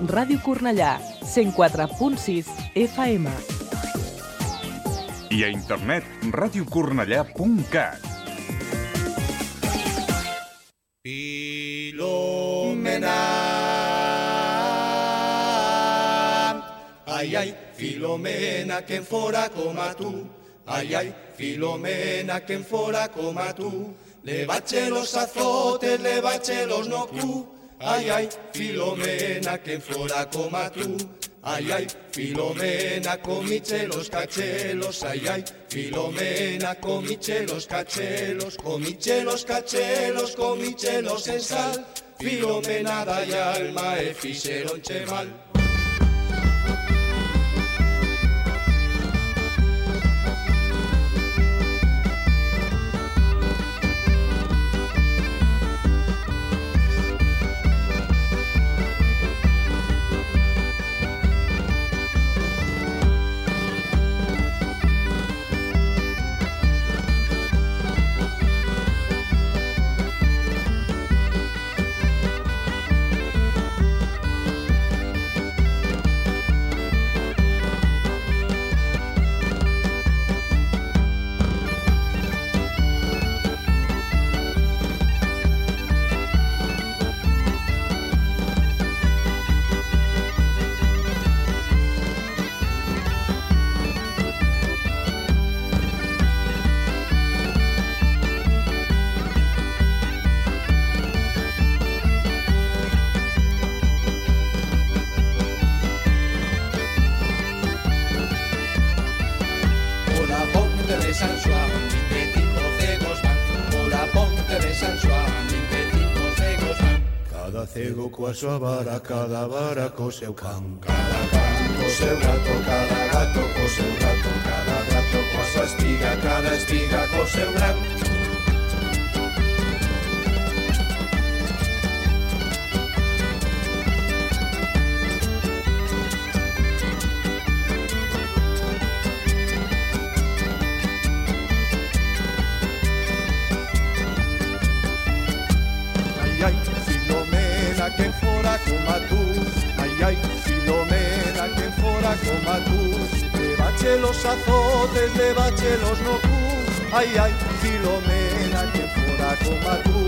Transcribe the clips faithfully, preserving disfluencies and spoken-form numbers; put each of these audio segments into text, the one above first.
Ràdio Cornellà, cent quatre punt sis F M. I a internet, ràdio cornellà punt cat. Filomena, ai, ai, Filomena, que en fora com a tu. Ai, ai, Filomena, que en fora com a tu. Le bache los azotes, le bache los no cu. Ai, ai, Filomena, que en fora com a tu. Ai, ai, Filomena, comiche los cachelos. Ai, ai, Filomena, comiche los cachelos. Comiche los cachelos, comiche los en sal. Filomena dai alma e fixeronche mal. Cego coa súa vara, cada vara co seu can. Cada can co seu gato, cada gato co seu gato. Cada gato coa súa espiga, cada espiga co seu gran. Ai, ai, Filomena, que fora como a tú. Ai, ai, Filomena, que fora como a tú. Levache los azotes, levache los no cu. Ai, ai, Filomena, que fora como a tú.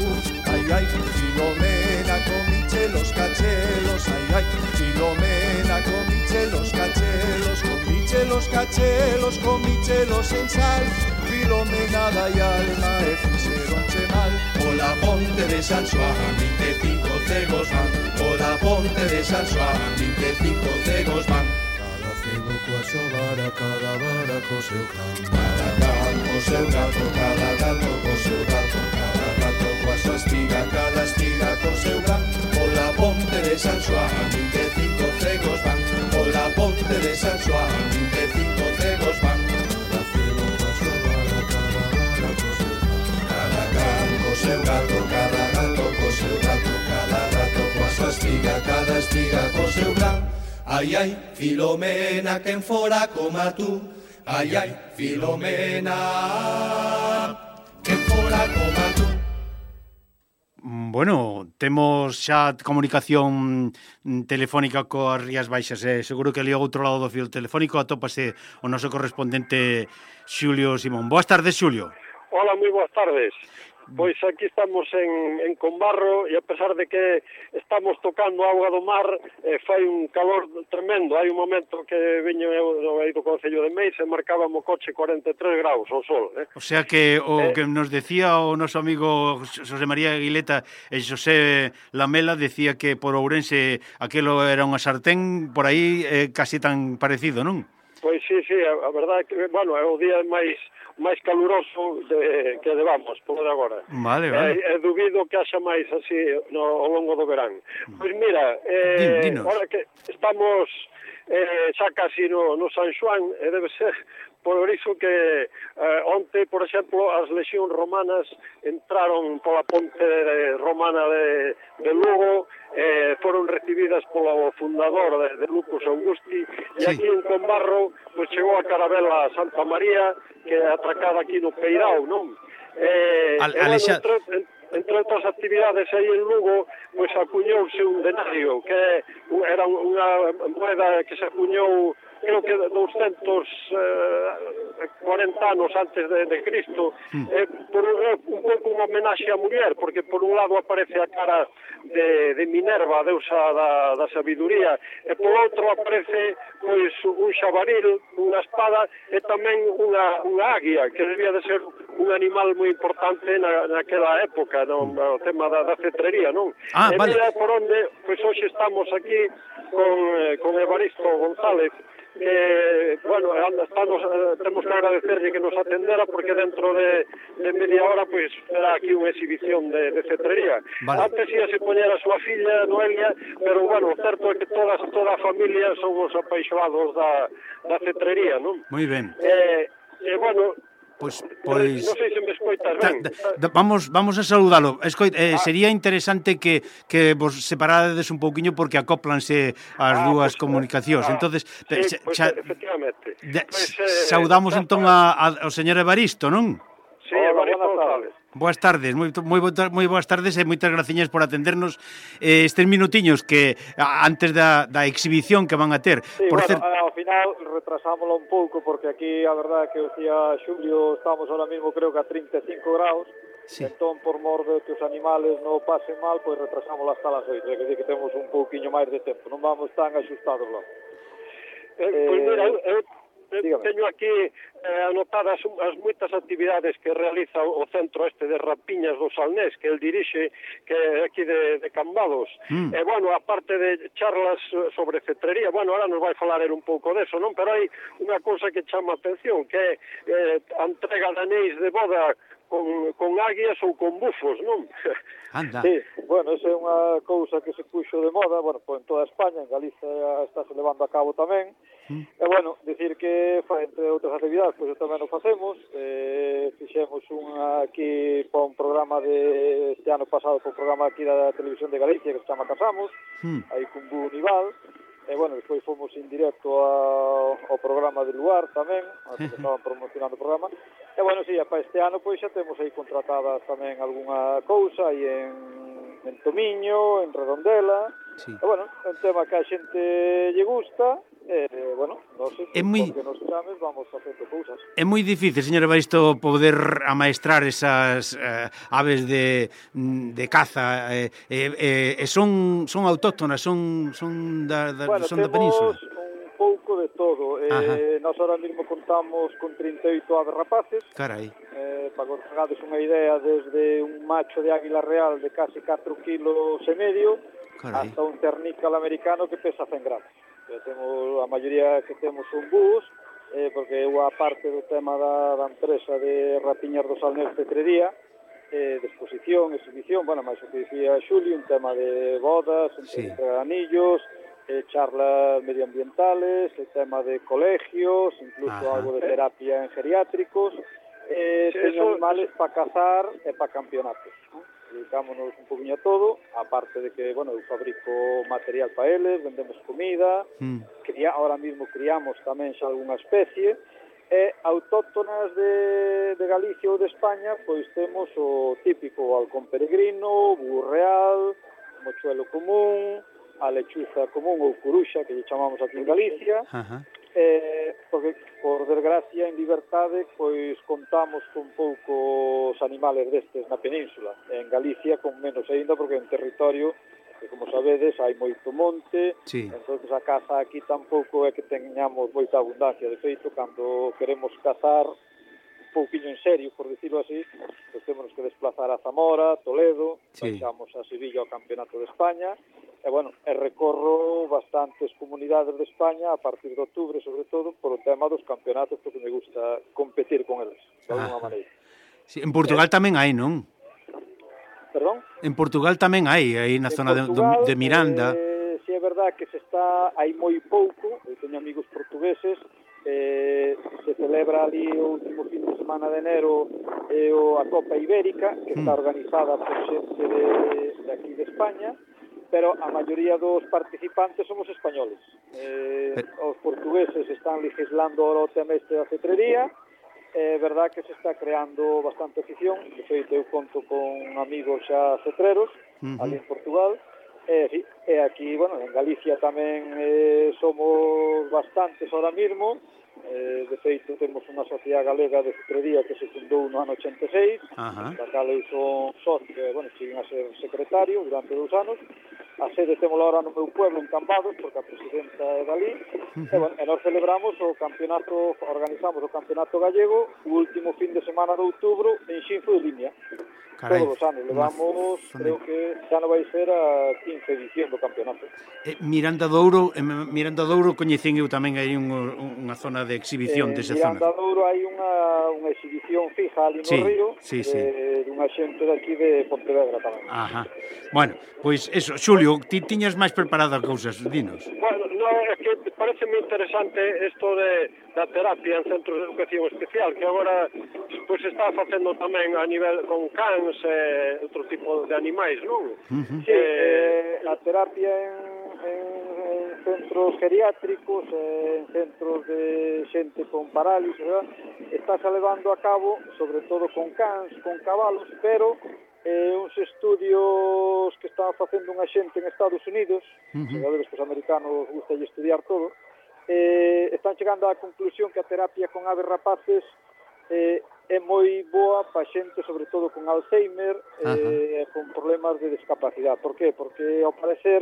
Ai, ai, Filomena, comiche los cachelos. Ai, ai, Filomena, comiche los cachelos. Comiche los cachelos, comiche los en sal. Filomena dai alma e fixeronche mal. Pola ponte de San Xoán, vinte e cinco cegos van. Pola ponte de San Xoán, vinte e cinco cegos van. Cada cego coa súa vara, cada vara co seu can. Cada can co seu gato, cada gato co seu gato. Cada gato coa súa espiga, cada espiga co seu gran. Pola ponte de San Xoán, vinte e cinco cegos van. Pola ponte de San Xoán, vinte e cinco cegos van. Seu gato, cada gato co seu gato, cada gato coa súa espiga, cada espiga co seu gran. Ai, ai, Filomena, quen fora como a tú. Ai, ai, Filomena, quen fora como a tú. Bueno, temos xa comunicación telefónica coas Rías Baixas. Eh? Seguro que ali ao outro lado do fio telefónico atópase o noso correspondente Xulio Simón. Boas tardes, Xulio. Hola, moi boas tardes. Pois aquí estamos en, en Combarro e a pesar de que estamos tocando a auga do mar, eh, fai un calor tremendo. Hai un momento que viño eu do Concello de Meis e marcaba mo coche cuarenta e tres graus ao sol. Eh? O sea que o eh, que nos decía o noso amigo José María Aguileta e José Lamela decía que por Ourense aquelo era unha sartén por aí eh, casi tan parecido, non? Pois sí, sí, a, a verdade que, bueno, é o día máis máis caluroso de, que levamos, por de agora. Vale, vale. E, e dubido que haxa máis así no, ao longo do verán. Pois mira, eh, Dinos. ahora que estamos eh, xa casi no, no San Xoán, e debe ser por iso que eh, onte, por exemplo, as lexións romanas entraron pola ponte de, romana de, de Lugo, eh, foron recibidas polo fundador de, de Lucus Augusti, e sí. aquí en Combarro pues, chegou a carabela Santa María, que é atracada aquí no Peirao, non? Eh, Al, bueno, Alexa... entre, entre outras actividades aí en Lugo, pois acuñouse un denario, que era unha moeda que se acuñou creo que doscientos cuarenta anos antes de, de Cristo, mm. eh, por, eh, un pouco unha homenaxe á muller, porque por un lado aparece a cara de, de Minerva, a deusa da, da sabiduría, e por outro aparece pois un xabaril, unha espada, e tamén unha, unha águia, que debía de ser un animal moi importante na, naquela época, no, no tema da, da cetrería, non? Ah, e vale. mira por onde, pois hoxe estamos aquí con, eh, con Evaristo González, que, bueno, estamos, temos que agradecerle que nos atendera porque dentro de, de media hora pois será aquí unha exhibición de, de cetrería. Vale. Antes ia se poñer a súa filla Noelia, pero, bueno, certo é que todas, toda a familia somos apaixoados da, da cetrería, non? Moi ben. Eh, e, bueno... Pois, pois... Non sei se me escoitas ben. Da, da, vamos, vamos a saludalo. Escoit, eh, ah. Sería interesante que, que vos separades un pouquiño porque acóplanse as ah, dúas pues, comunicacións. Ah, entonces, sí, xa, pues, xa, efectivamente. De, pues, eh, saudamos entón a, a, ao señor Evaristo, non? Sí, Evaristo González. Boas tardes, moi, moi, moi boas tardes e moitas graciñas por atendernos eh, estes minutiños que a, antes da, da exhibición que van a ter. Sí, por bueno, cer... ao final retrasámoslo un pouco porque aquí a verdade que decía Xulio, estamos ahora mismo creo que a trinta e cinco graus, sí. Entón por mor de que os animales non pasen mal, pois retrasámoslo hasta las oito, é que decir que temos un pouquiño máis de tempo, non vamos tan axustados lá. Eh, eh, pois mira, eu... Dígame. Teño aquí eh, anotadas as moitas actividades que realiza o centro este de Rapiñas do Salnés, que el dirixe, que é aquí de, de Cambados. Mm. E, bueno, aparte de charlas sobre cetrería, bueno, ahora nos vai falar un pouco deso, non? Pero hai unha cousa que chama atención, que é eh, a entrega de anéis de boda con, con águias ou con bufos, non? Anda. Sí, bueno, esa é unha cousa que se puxo de moda, bueno, pues en toda España, en Galicia está se levando a cabo tamén. Mm. E, bueno, decir que, entre outras actividades, pois pues, tamén o facemos. Eh, fixemos unha aquí para un programa de este ano pasado, para un programa aquí da Televisión de Galicia que se chama Casamos, mm. aí con Bu Nival. E, bueno, despois fomos en directo ao, ao programa de Luar tamén, que estaban promocionando o programa. E, bueno, sí, para este ano, pois xa temos aí contratadas tamén algunha cousa aí en, en Tomiño, en Redondela. Sí. E, bueno, é un tema que a xente lle gusta. E, bueno, non sei, é moi... porque nos chames vamos facendo cousas. É moi difícil, señor Evaristo, poder amaestrar esas eh, aves de, de caza e eh, eh, eh, son, son autóctonas, son, son, da, da, bueno, son da península. Bueno, temos un pouco de todo. Eh, nós ahora mesmo contamos con trinta e oito aves rapaces. Carai. Eh, para que os pegades unha idea, desde un macho de águila real de casi catro kilos e medio, carai, hasta un ternícal americano que pesa cen gramos. Temos, a maioría que temos son búhos, eh, porque eu a parte do tema da, da empresa de Rapiñas do Salnés Cetrería, eh, de exposición, exhibición, bueno, máis o que dicía Xulio, un tema de bodas, sí, entre anillos, eh, charlas medioambientales, el tema de colegios, incluso ajá, algo de terapia en geriátricos, eh, sí, teño animales para cazar e para campeonatos, ¿no? Dedicámonos un poquinho a todo, aparte de que, bueno, eu fabrico material para eles, vendemos comida, mm. cría, ahora mismo criamos tamén xa algunha especie, e autóctonas de, de Galicia ou de España, pois temos o típico halcón peregrino, burro real, mochuelo común, a lechuza común ou curuxa, que lle chamamos aquí en Galicia, uh-huh. eh, porque, por desgracia, en liberdade, pois contamos con poucos animales destes na península. En Galicia, con menos aínda, porque é un territorio que, como sabedes, hai moito monte, sí, entonces a caza aquí tampouco é que teñamos moita abundancia. De feito, cando queremos cazar un pouquinho en serio, por decirlo así, pues temos que desplazar a Zamora, Toledo, sí, baixamos a Sevilla ao Campeonato de España, e, bueno, e recorro bastantes comunidades de España a partir de outubro, sobre todo, por o tema dos campeonatos, porque me gusta competir con eles, de alguma maneira. Sí, en Portugal eh, tamén hai, non? Perdón? En Portugal tamén hai, aí na en zona Portugal, de, de Miranda. Eh, si é verdad que se está, hai moi pouco, eu teño amigos portugueses, eh, se celebra ali o último fin de semana de enero eh, a Copa Ibérica, que mm. está organizada por xente de, de aquí de España, pero a maioría dos participantes somos españoles. Eh, pero... Os portugueses están legislando ahora o tema este da cetrería, é verdad que se está creando bastante afición. De feito, eu conto con amigos xa cetreros, uh-huh. ali en Portugal, e, e aquí, bueno, en Galicia tamén eh, somos bastantes ahora mismo. Eh, de feito, temos unha sociedade galega de cetrería que se fundou no ano ochenta e seis, uh-huh. da cal eu son socio, que, bueno, cheguen a ser secretario durante dous anos. A sede temos ahora no meu pueblo, en Cambados, porque a presidenta é dali. Uh-huh. E, bueno, e nós celebramos o campeonato, organizamos o campeonato gallego o último fin de semana de outubro en Xinzo de Limia. Carai, todos os anos, levamos, una... creo que xa non vai ser a quince edición do campeonato. Eh, Miranda do Ouro, eh, Miranda do Ouro coñecen eu tamén hai un, unha zona de exhibición eh, desa zona. Miranda do Ouro hai unha, unha exhibición fija ali no sí, río, sí, de, sí. dunha xente daqui de Pontevedra tamén. Ajá. Bueno, pois pues eso, Xulio, ti tiñas máis preparadas cousas, dinos. Bueno, no, é que parece moi interesante isto de da terapia en centros de educación especial, que agora pois se está facendo tamén a nivel con cans e outro tipo de animais, non? Uh-huh. Sí, eh, a terapia en, en, en centros geriátricos, en centros de xente con parálisis, está se levando a cabo, sobre todo con cans, con cabalos, pero eh, uns estudios que está facendo unha xente en Estados Unidos, uh-huh. que os americanos gusta de estudiar todo, eh, están chegando á conclusión que a terapia con aves rapaces eh, é moi boa para xente, sobre todo con Alzheimer e eh, con problemas de discapacidade. Por qué? Porque, ao parecer,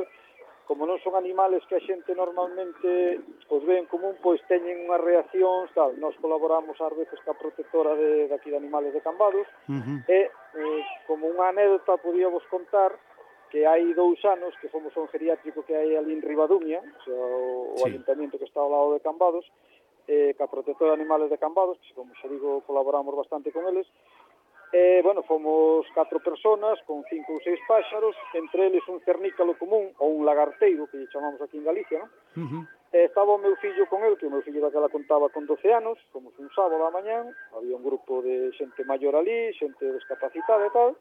como non son animales que a xente normalmente os ve en común, pois teñen unhas reaccións, tal. Nós colaboramos ás veces ca protectora de, de aquí de animales de Cambados, uh-huh. e, eh, como unha anécdota, podíamos contar que hai dous anos que fomos a un geriátrico que hai ali en Ribadumia, o, sea, o, sí. o ayuntamiento que está ao lado de Cambados, eh, ca protectora de animales de Cambados, que, como xa digo, colaboramos bastante con eles. Eh, bueno, fomos catro personas con cinco ou seis páxaros, entre eles un cernícalo común ou un lagarteiro, que lle chamamos aquí en Galicia, non? Uh-huh. Eh, estaba o meu fillo con el, que o meu fillo daquela contaba con doce anos, fomos un sábado a mañán, había un grupo de xente maior ali, xente discapacitada e tal.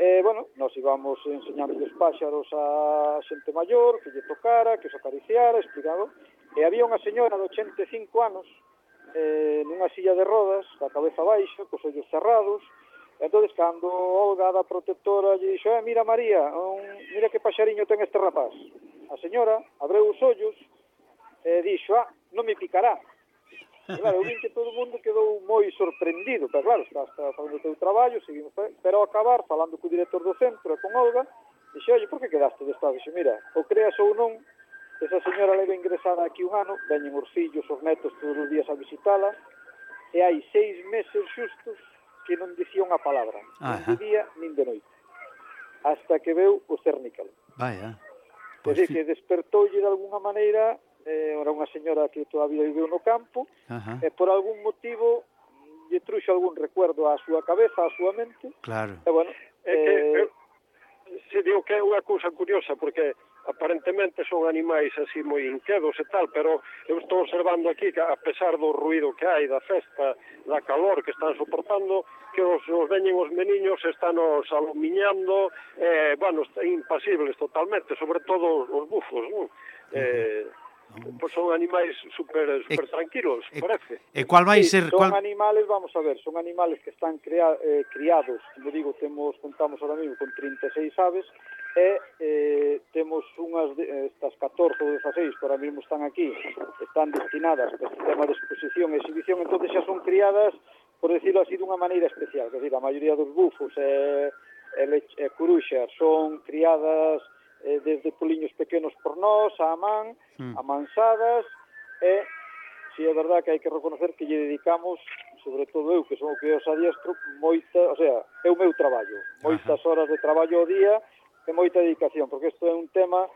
Eh, bueno, nos íbamos enseñando os páxaros a xente maior, que lle tocara, que os acariciara, explicado. E había unha señora de ochenta e cinco anos, eh, nunha silla de rodas, ca cabeza baixa, cos ollos cerrados. Entón, cando Olga da protectora lle dixo, eh, mira María, un, mira que paxariño ten este rapaz. A señora abreu os ollos e dixo, ah, non me picará. E, claro, eu vin que todo o mundo quedou moi sorprendido, pero claro, está, está facendo o teu traballo, seguimos, pero ao acabar, falando co director do centro e con Olga, dixe, oye, por que quedaste de estado? Dixe, mira, o creas ou non, esa señora leva ingresada aquí un ano, veñen os fillos, os netos todos os días a visitala, e hai seis meses xustos que non dicía unha palabra, nin de día, nin de noite, hasta que veu o cernícalo. Vaya. Pues é que despertoulle de alguna maneira, eh, era unha señora que toda a vida viveu no campo, Ajá. e por algún motivo lle truxo algún recuerdo á súa cabeza, á súa mente. Claro. E bueno, é que eh, se digo que é unha cousa curiosa, porque aparentemente son animais así moi inquedos e tal, pero eu estou observando aquí que a pesar do ruido que hai, da festa, da calor que están soportando, que os, os veñen os meniños, están os alumiñando, eh, bueno, están impasibles totalmente, sobre todo os bufos, non? Eh, pois son animais super, super e, tranquilos, e, parece. E cual vai sí, ser... Son cual... animales, vamos a ver, son animales que están crea, eh, criados, como digo, temos, contamos ahora mismo con trinta e seis aves, e eh, temos unhas, de, estas catorce ou dezaseis que ahora mismo están aquí, están destinadas para o sistema de exposición e exhibición, entón xa son criadas, por decirlo así, dunha maneira especial, que decir, a maioría dos bufos e, e, e curuxas son criadas eh, desde poliños pequenos por nós, a man, mm. amansadas, e si é verdad que hai que reconocer que lle dedicamos, sobre todo eu, que son o que os adiestro, moita, o sea, é o meu traballo, moitas Ajá. horas de traballo ao día, e moita dedicación, porque isto é un tema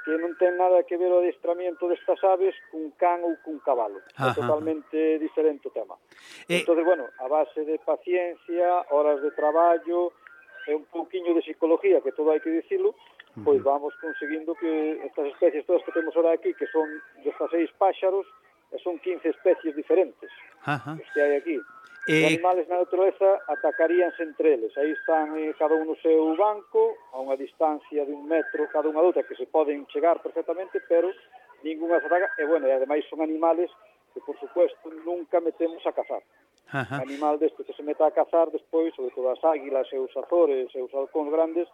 que non ten nada que ver o adestramento destas aves cun can ou cun cabalo. Ajá. É totalmente diferente o tema. Eh... Entón, bueno, a base de paciencia, horas de traballo, e un pouquiño de psicología, que todo hai que dicilo, pois vamos conseguindo que estas especies todas que temos ahora aquí, que son dezasseis páxaros, e son quince especies diferentes, Ajá. os que hai aquí. Eh... Os animales na natureza atacaríanse entre eles. Aí están eh, cada un no seu banco, a unha distancia de un metro cada unha doutra, que se poden chegar perfectamente, pero ninguna se ataca. E, bueno, e ademais son animales que, por supuesto, nunca metemos a cazar. Ajá. Animal deste que se meta a cazar despois, sobre todo as águilas e os azores e os halcóns grandes,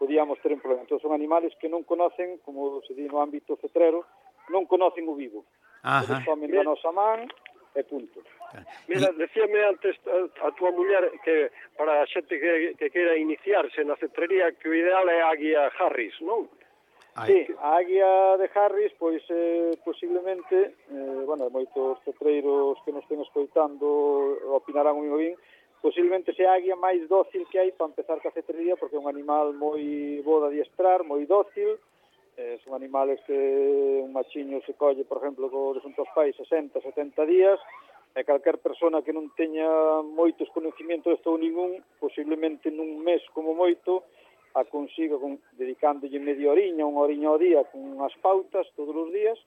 podíamos ter un problema. Entón, son animales que non conocen, como se di no ámbito cetrero, non conocen o vivo. Eles comen da nosa man e punto. Mira, decíame antes a, a tua muller que para a xente que, que queira iniciarse na cetrería que o ideal é a águia Harris, non? Sí, a águia de Harris, pois eh, posiblemente, eh, bueno, moitos cetreiros que nos estén escoitando opinarán o mismo bien, posiblemente sea a águia máis dócil que hai para empezar ca cetrería, porque é un animal moi bo de adiestrar, moi dócil, eh, son animales que un machiño se colle, por exemplo, co desuntos pais sesenta, setenta días, e calquer persona que non teña moitos conocimientos de todo ningún, posiblemente nun mes como moito, a consiga con, dedicándolle media oriña, unha oriña ao día, con unhas pautas todos os días,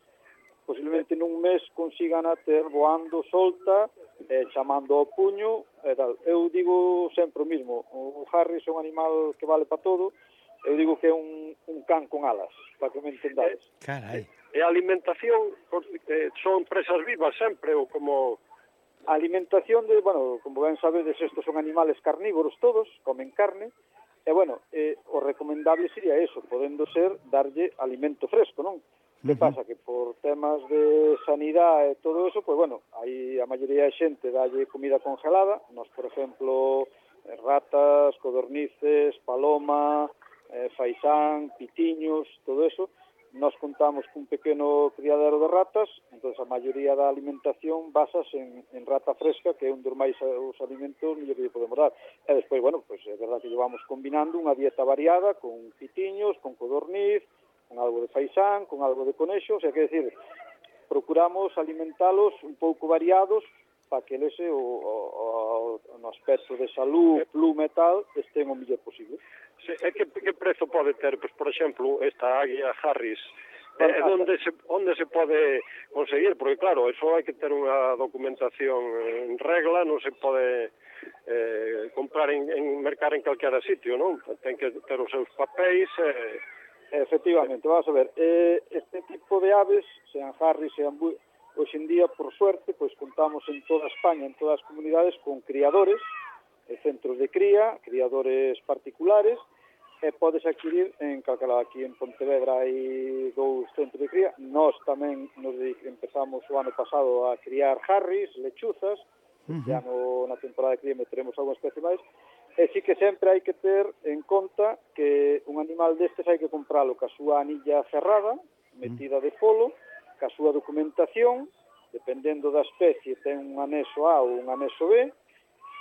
posiblemente nun mes consigan a ter voando solta, eh, chamando ao puño, e tal. Eu digo sempre o mismo, o Harris é un animal que vale para todo, eu digo que é un, un can con alas, para que me entendades. Carai. E a alimentación, eh, son presas vivas sempre, ou como... A alimentación, de, bueno, como ben sabedes, estos son animales carnívoros todos, comen carne, e, bueno, eh, o recomendable sería eso, podendo ser darlle alimento fresco, non? Que pasa? Que por temas de sanidade e todo eso, pues bueno, aí a maioría de xente dalle comida congelada, nos, por exemplo, ratas, codornices, paloma, eh, faisán, pitiños, todo eso, nos contamos cun pequeno criadero de ratas, entón a maioría da alimentación basas en, en rata fresca, que é un dos máis os alimentos mellor que lle podemos dar. E despois, bueno, pues é verdad que llevamos combinando unha dieta variada con pitiños, con codorniz, con algo de faisán, con algo de conexo, o sea, que decir, procuramos alimentalos un pouco variados para que lese o, o, o no aspecto de salud, plume e tal, estén o mellor posible. Sí, e que, que prezo pode ter, pues, por exemplo, esta águia Harris? Bueno, eh, onde, se, onde se pode conseguir? Porque, claro, eso hai que ter unha documentación en regla, non se pode eh, comprar en, en mercar en calquera sitio, non? Ten que ter os seus papéis... Eh, Efectivamente, vamos a ver, eh, este tipo de aves, sean Harris, sean bui, hoxe en día, por suerte, pois contamos en toda España, en todas as comunidades, con criadores, centros de cría, criadores particulares, e podes adquirir en calcala, aquí en Pontevedra hai dous centros de cría. Nós tamén nos empezamos o ano pasado a criar Harris, lechuzas, uh-huh. Ya no, na temporada de cría meteremos algunha especie máis, e sí que sempre hai que ter en conta que un animal destes hai que compralo ca súa anilla cerrada, metida de polo, ca súa documentación, dependendo da especie, ten un anexo A ou un anexo B,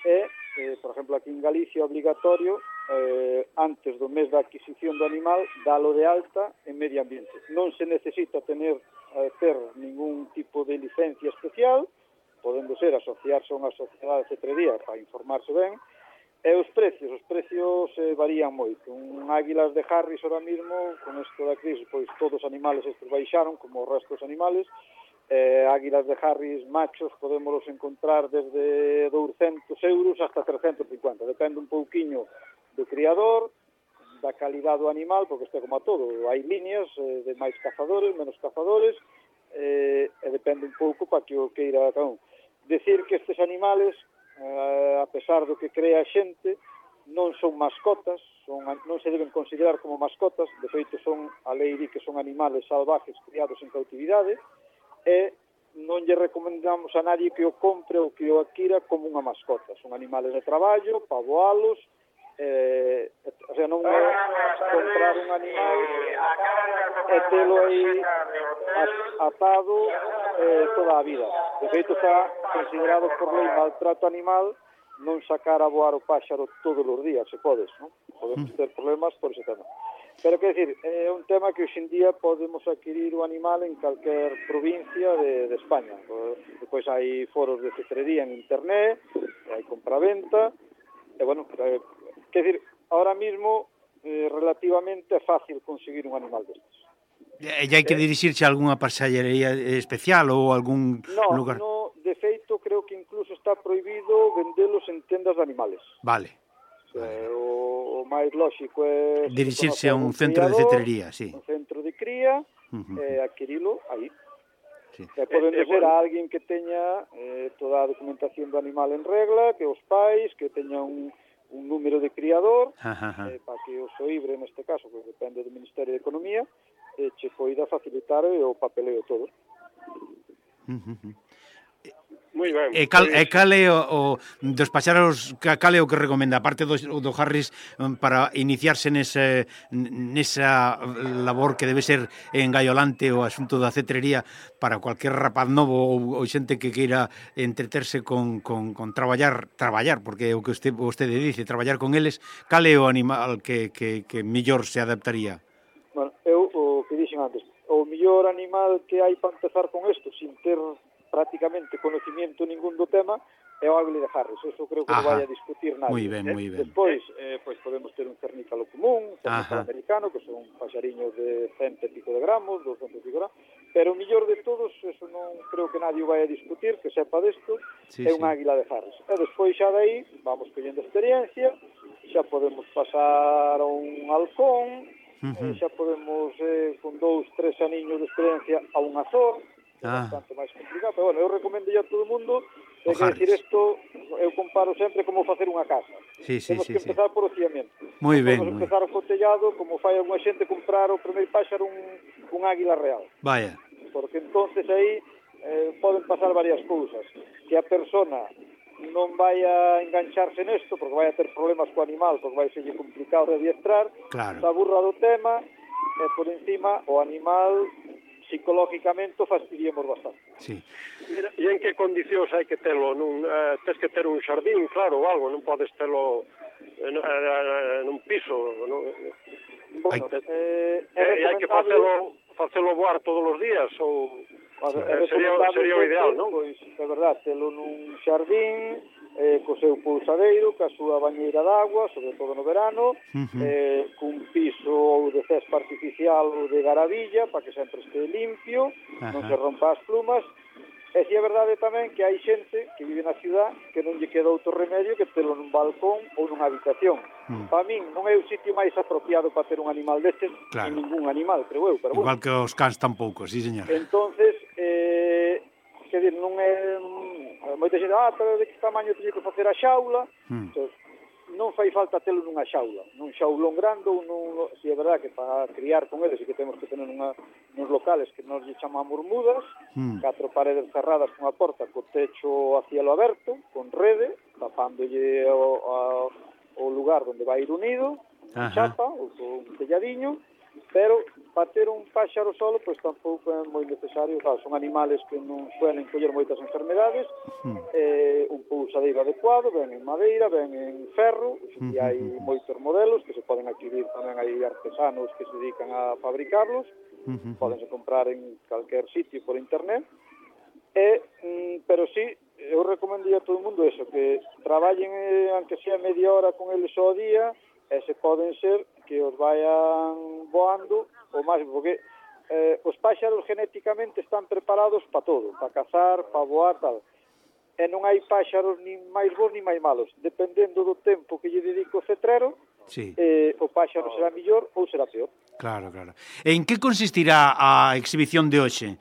e, eh, por exemplo, aquí en Galicia é obligatorio, eh, antes do mes da adquisición do animal, dalo de alta en medio ambiente. Non se necesita tener, eh, ter ningún tipo de licencia especial, podendo ser asociarse a unha sociedade de cetrería para informarse ben. E os precios, os precios eh, varían moito. Un águilas de Harris ahora mismo, con isto da crise, pois todos os animales estes baixaron, como o resto dos animales. Eh, águilas de Harris machos podémolos encontrar desde douscentos euros hasta trescentos cincuenta. Depende un pouquiño do criador, da calidad do animal, porque isto é como a todo. Hai líneas eh, de máis cazadores, menos cazadores, eh, e depende un pouco para que o queira cada un. Decir que estes animales, eh, a pesar do que crea a xente, non son mascotas, son, non se deben considerar como mascotas, de feito son, a lei di que son animales salvajes criados en cautividade, e non lle recomendamos a nadie que o compre ou que o adquira como unha mascota. Son animales de traballo, para voalos, eh, o sea, non é comprar un animal e telo aí atado eh, toda a vida. De feito, está considerado por lei maltrato animal non sacar a voar o páxaro todos os días, se podes, non? Podemos ter problemas por ese tema. Pero, que decir, é un tema que hoxe en día podemos adquirir o animal en calquer provincia de, de España. Depois hai foros de cetrería en internet, hai compraventa, e, bueno, eh, que decir, ahora mismo, eh, relativamente é fácil conseguir un animal destes. E hai que dirixirse a algunha pasallería especial ou algún no, lugar? No, de feito, creo que incluso está prohibido vendelos en tendas de animales. Vale. O, sea, o, o máis lóxico é dirixirse a un centro de cetrería, sí. Un centro de cría, uh-huh. e adquirilo aí. sí. E podendo Eh, eh, ser bueno. a alguén que teña eh, toda a documentación do animal en regla, que os pais, que teña un, un número de criador, Ajá, ajá. eh, para que o SOIBRE, neste caso, que depende do Ministerio de Economía, eh, che poida facilitar o papeleo todo. Uh -huh. Moi ben. E cal, e Pois, cal é o, o dos paxaros, cal é o que recomenda, aparte do, do Harris, para iniciarse nese, nesa labor que debe ser engaiolante o asunto da cetrería para cualquier rapaz novo ou, ou xente que queira entreterse con, con, con traballar, traballar, porque é o que usted, vostede dice, traballar con eles, cal é o animal que, que, que mellor se adaptaría? Bueno, eu, o que dixen antes, o mellor animal que hai para empezar con isto, sin ter prácticamente conocimiento ningún do tema, é o águile de Harris. Eso creo que non vai a discutir nadie. Moi ben, eh? moi ben. Despois, eh, pois podemos ter un cernícalo común, un cernícalo Ajá. americano, que son paxariños de cento e pico de gramos, doscientos e pico de gramos, pero o mellor de todos, eso non creo que nadie vai a discutir, que sepa desto, Sí, é un sí. águila de Harris. E despois xa dai, vamos collendo experiencia, xa podemos pasar a un halcón, Uh -huh. eh, xa podemos, eh, con dous, tres aniños de experiencia, a un azor, é Ah. bastante máis complicado, pero bueno, eu recomendo a todo o mundo, O é que decir Harris. isto, eu comparo sempre como facer unha casa. Sí, sí, Temos sí, que sí. empezar por o ciamento. Moi Non ben, podemos moi empezar o cotellado, como fai alguna xente comprar o primeiro páxaro un, un águila real. Vaya. Porque entonces aí eh, poden pasar varias cousas. Que a persona non vai a engancharse nesto, porque vai a ter problemas co animal, porque vai ser complicado de adiestrar, Claro. se aburra do tema, e por encima o animal psicológicamente o fastidiemos bastante. Sí. Mira, e en que condicións hai que telo? Nun, eh, tes que ter un xardín, claro, ou algo, non podes telo en, en, nun piso, non? Bueno, Hai- eh, é E hai que recomendable... facelo, facelo voar todos os días, ou... A ver, Eh, é sería- recomendable sería o sempre, ideal, non? Pois, é verdad, telo nun xardín, eh, co seu pulsadeiro, ca súa bañeira de agua, sobre todo no verano, Ujú. eh, cun piso ou de cespa artificial ou de garavilla, para que sempre este limpio, non Ajá. se rompa as plumas. E si é verdade tamén que hai xente que vive na ciudad que non lle queda outro remedio que telo nun balcón ou nunha habitación. Mm. Para min non é o sitio máis apropiado para ter un animal destes, Claro. ni ningún animal, creo eu, pero bueno. Igual que os cans tampouco, sí, señor. Entonces, eh, que dir, non é... Moita xente, ah, pero de que tamaño teño que facer a xaula? Mm. Entón, non fai falta telo nunha xaula, nun xaulón grande ou nun... Si é verdad que para criar con eles e que temos que tener nunha, nos locales que nos lle chamamos mudas, Mm. catro paredes cerradas cunha porta co techo a cielo aberto, con rede, tapándolle o, a, o lugar onde vai ir unido, con Ajá. chapa ou con un telladiño, pero para ter un páxaro solo, pois tampouco é moi necesario, claro, son animales que non suelen coller moitas enfermedades, Mm. eh, un pulsadeiro adecuado, ben en madeira, ben en ferro, e hai moitos modelos que se poden adquirir, tamén hai artesanos que se dedican a fabricarlos, Ujú. podense comprar en calquer sitio por internet, e, mm, pero sí, eu recomendo a todo o mundo eso, que traballen, eh, aunque sea media hora con eles ao día, e se poden ser que os vayan voando o máis, porque eh, os páxaros genéticamente están preparados para todo, para cazar, para voar, tal. E non hai páxaros ni máis bons ni máis malos. Dependendo do tempo que lle dedico o cetrero, Sí, eh, o páxaro será mellor ou será peor. claro, claro. En que consistirá a exhibición de hoxe?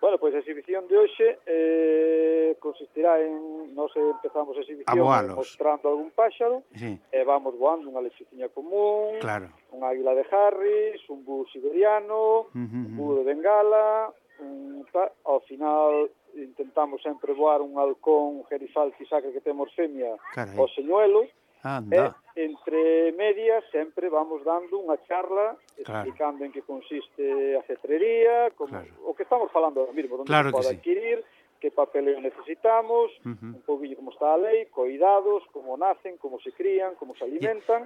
Bueno, pois a exhibición de hoxe eh, consistirá en... Nos empezamos a exhibición voalos. mostrando algún páxaro, Sí, e vamos voando unha lechiciña común, claro. un águila de Harris, un búho siberiano, Ujú, un ujú. búho de Bengala, un ta... ao final intentamos sempre voar un halcón, un gerifalti sacre que temos femia, Carai. o señuelo, Anda. e entre medias sempre vamos dando unha charla Claro. explicando en que consiste a cetrería, como, Claro. o que estamos falando ahora mismo, onde Claro se que pode sí. adquirir, que papeleo necesitamos, Ujú. un pouquinho como está a lei, coidados, como nacen, como se crían, como se alimentan,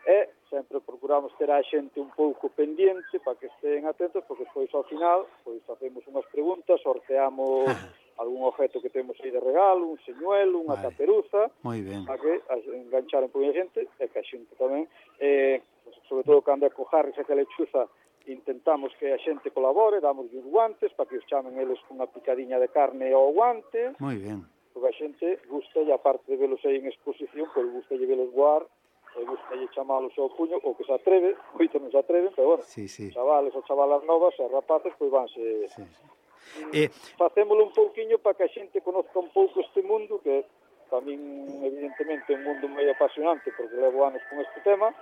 e sempre procuramos ter a xente un pouco pendiente para que estén atentos, porque despois ao final pois facemos unhas preguntas, sorteamos algún objeto que temos aí de regalo, un señuelo, unha Vale. caperuza, Moi ben. para que a- enganchar un pouco a xente, e que a xente tamén, eh, sobre todo cando é co Harris e que a lechuza, intentamos que a xente colabore, damos uns guantes para que os chamen eles cunha picadiña de carne ao guante, Moi ben. porque a xente gusta, e aparte de velos aí en exposición, pois gusta lle velos voar, e gusta lle chamalos ao puño, ou que se atreve, moitos non se atreven, pero bueno, Sí, sí. chavales ou chavalas novas e rapaces, pois vanse... Sí, sí. Eh, facémolo un pouquiño para que a xente conozca un pouco este mundo, que para min, evidentemente, é un mundo moi apasionante, porque levo anos con este tema,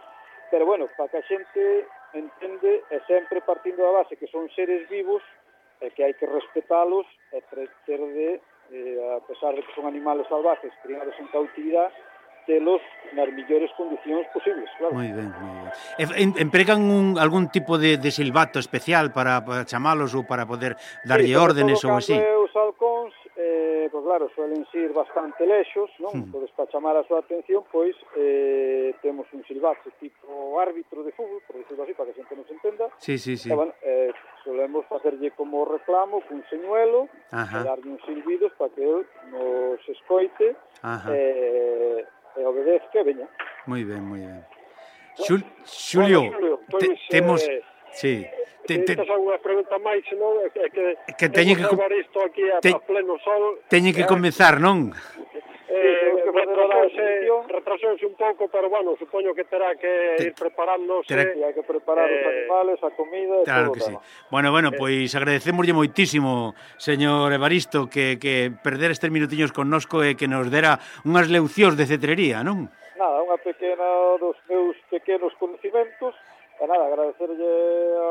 pero, bueno, para que a xente entende, e sempre partindo da base que son seres vivos, e que hai que respetalos, e ter de, eh, a pesar de que son animales salvajes, criados en cautividade, telos nas millores condicións posibles, claro. Moi ben, moi ben. E, empregan un, algún tipo de, de silbato especial para, para chamalos ou para poder darlle sí, órdenes ou así? Os halcóns, eh, pois claro, suelen ser bastante lexos, non? Hmm. Podes para chamar a súa atención, pois eh, temos un silbato tipo árbitro de fútbol, por decirlo así, para que a xente non se entenda. Sí, sí, sí. E, bueno, eh, solemos facerlle como reclamo cun señuelo, e darlle uns silbidos para que el nos escoite, e... Eh, e obedezca, veña. Moi ben, moi ben. Xul, Xulio, bueno, Xulio, te, pues, temos... Eh, sí. Te, te, Estas son unha pregunta máis, non? É que, que teñen que levar isto aquí a, te, a pleno sol. Teñen que eh, comenzar, non? Eh, retrasouse, retrasouse un pouco, pero, bueno, supoño que terá que te, ir preparándose. Terá... E hai que preparar eh, os animales, a comida e claro todo que sí. Tema. Bueno, bueno, pois pues, agradecemoslle moitísimo, señor Evaristo, que, que perder estes minutiños connosco e que nos dera unhas leccións de cetrería, non? Nada, unha pequena dos meus pequenos conhecimentos, e nada, agradecerlle a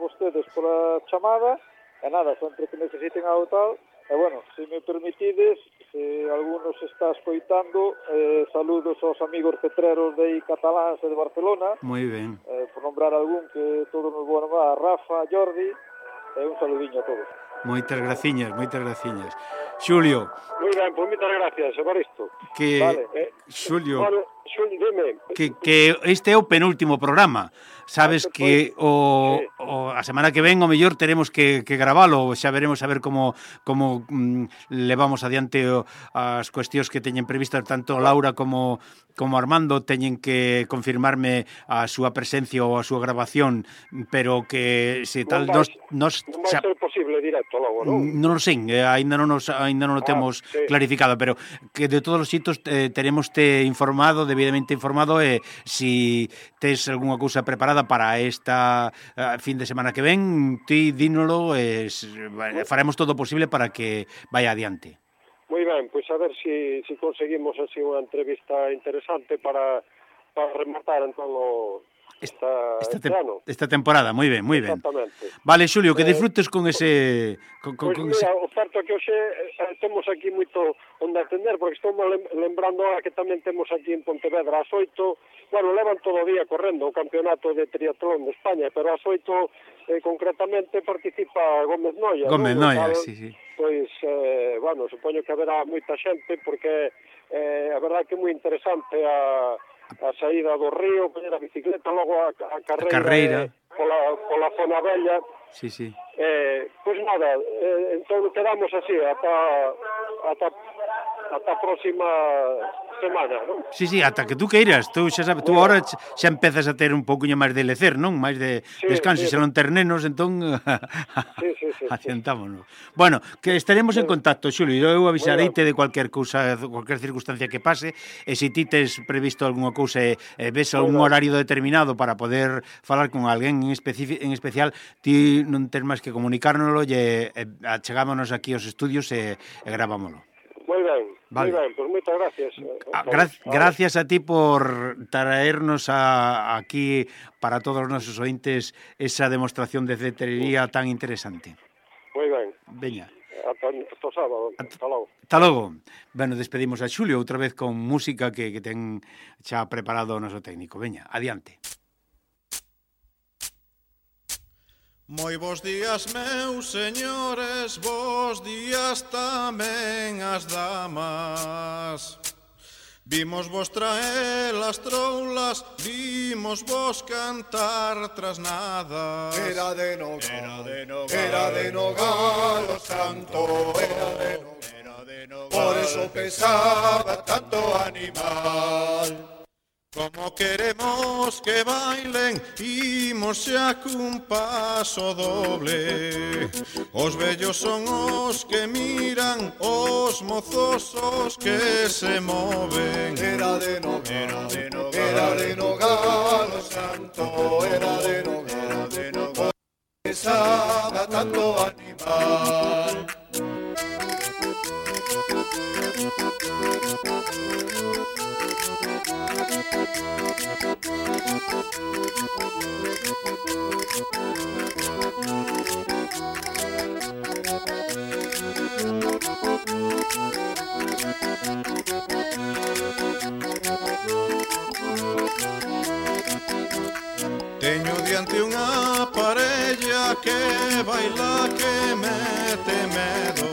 vostedes pola chamada, e nada, sempre que necesiten algo tal, e bueno, se me permitides, se algunos está escoitando, eh, saludos aos amigos cetreros de cataláns e de Barcelona. Moi ben. Eh, por nombrar algún que todos nos vou nombrar, a Rafa, a Jordi, e un saludiño a todos. Moitas graciñas, moitas graciñas. Xulio. Moi ben, pois moitas gracias, Evaristo. Que, vale. eh, Xulio, bueno, Xulio, dime. Que, que este é o penúltimo programa. Sabes ah, que o, sí. o a semana que ven o mellor teremos que, que gravalo, xa veremos a ver como como mm, levamos adiante o, as cuestións que teñen previstas tanto Laura como como Armando teñen que confirmarme a súa presencia ou a súa grabación, pero que se tal non vai, nos, nos non vai ser posible directo logo, non? Non o sei, eh, aínda non nos aínda non o temos ah, sí. clarificado, pero que de todos os xitos eh, teremos te informado, debidamente informado, e eh, si tes algunha cousa preparada para esta uh, fin de semana que ven, ti dínolo, e eh, faremos todo o posible para que vaya adiante. Moi ben, pois a ver se si, si conseguimos así unha entrevista interesante para, para rematar en todo esta, esta, este te, ano. Esta temporada, moi ben, moi ben. Exactamente. Vale, Xulio, que eh, disfrutes con ese... Con, con, pois con mira, ese... o certo que hoxe eh, temos aquí moito onde atender, porque estou lembrando ahora que tamén temos aquí en Pontevedra ás oito, bueno, levan todo o día correndo o campeonato de triatlón de España, pero ás oito eh, concretamente participa Gómez Noia. Gómez ¿no? Noia, Tal, sí, sí. Pois, eh, bueno, supoño que haberá moita xente, porque eh, a verdade que é moi interesante a, a saída do río, poñer a bicicleta, logo a, a carreira, a carreira. Eh, pola, pola zona bella. Sí, sí. Eh, pois nada, eh, entón quedamos así ata, ata, ata a próxima semana, non? Sí, sí, ata que tú queiras. Tú xa sabes, tú agora xa empezas a ter un pouquiño máis de lecer, non? Máis de sí, descanso, sí. Se non ter nenos, entón sí, sí, sí, adiantámonos. Sí. Bueno, que estaremos sí. en contacto, Xulio. Eu avisareite de cualquier cousa, cualquier circunstancia que pase, e se ti tes previsto algunha cousa e, e ves algún horario determinado para poder falar con alguén en, en especial, ti non tes máis que comunicárnoslo e, e achegámonos aquí aos estudios e, e gravámoslo. Moi ben, vale. Moi ben, pois moitas gracias. Ah, gra gracias a ti por traernos a, aquí para todos os nosos ointes esa demostración de cetrería tan interesante. Moi ben. Veña. Ata o sábado. Ata logo. Ata logo. Bueno, despedimos a Xulio outra vez con música que, que ten xa preparado o noso técnico. Veña, adiante. Moi bons días, meus señores, bons días tamén as damas. Vimos vos traer as troulas, vimos vos cantar trasnadas. Era de Nogal, era de Nogal, era de Nogal o santo, era de Nogal, era de Nogal. Por eso pesaba tanto animal. Como queremos que bailen, imos xa cun paso doble. Os vellos son os que miran, os mozos os que se moven. Era de Nogal, era de Nogal, era de Nogal o santo, era de Nogal, era de Nogal. pesaba tanto animal. Teño diante unha parella que baila que mete medo,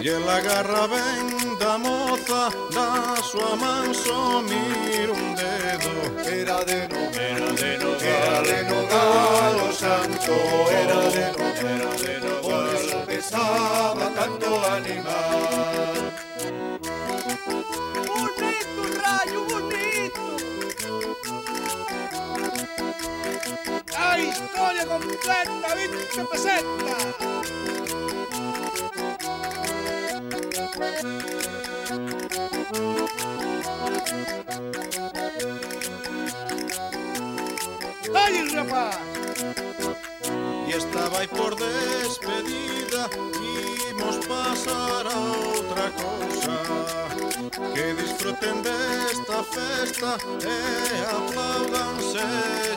e ela agarra ben da moza, da súa man só mira un dedo. Era de nogal, era de nogal, era de nogal o santo, era de nogal, era de nogal, por eso pesaba tanto animal. Bonito, rayo, bonito. La historia completa, viste, presenta. ¡Ay, rapaz! Y estaba aí por despedida, imos pasar a outra cousa, que disfruten desta festa e aplaudan se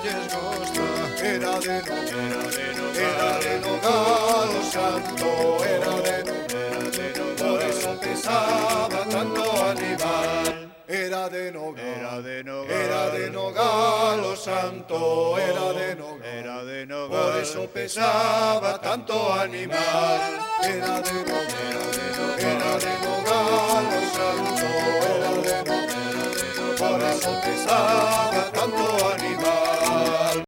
lles gosta. Era de nogal, era de nogal, era de nogal o santo, era de nogal, era de nogal, por eso pesaba tanto animal. Era de nogal, era de nogal, era de nogal o santo, era de nogal, era de nogal, por eso pesaba tanto animal. Era de nogal, era de nogal o santo, era de nogal, por eso pesaba